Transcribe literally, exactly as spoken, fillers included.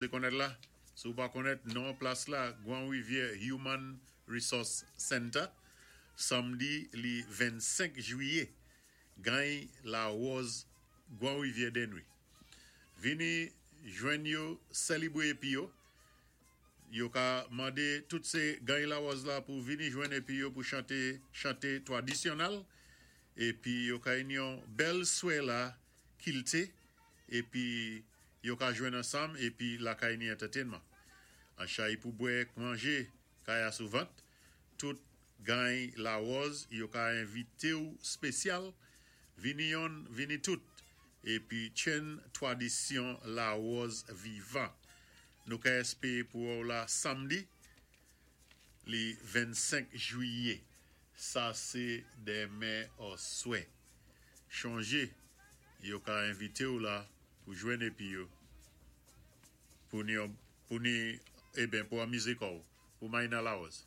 Konnèt la, si ou pa konnèt non plas la, Gwan Rivyè Human Resource Center, sanmdi li vennsenk jwiyé, gany Lawòz Gwan Rivyè denwi. Vini jwenn yo, sélébwé épi yo, yo ka mandé tout sé gany Lawòz la pou vini jwenn épi yo pou chanté chanté twadisyonnèl épi yo ka yon bèl swé la kilti épi yo ka jwenn ansanm épi la kay ni entertainment. An chay pou bwè manjé kay a sou vant, tout gany Lawòz yo ka envité ou spésyal, vini yon, vini tout épi tjenn twadisyon Lawòz vivan. Nou ka èspéwé pou ou la sanmdi li vennsenk jwiyé. Sa sé denmen oswè. Chonjé, yo ka envité ou la pou jwenn épi yo pou ni pou ni eben pou anmizé kò ou, pou may nan Lawòz.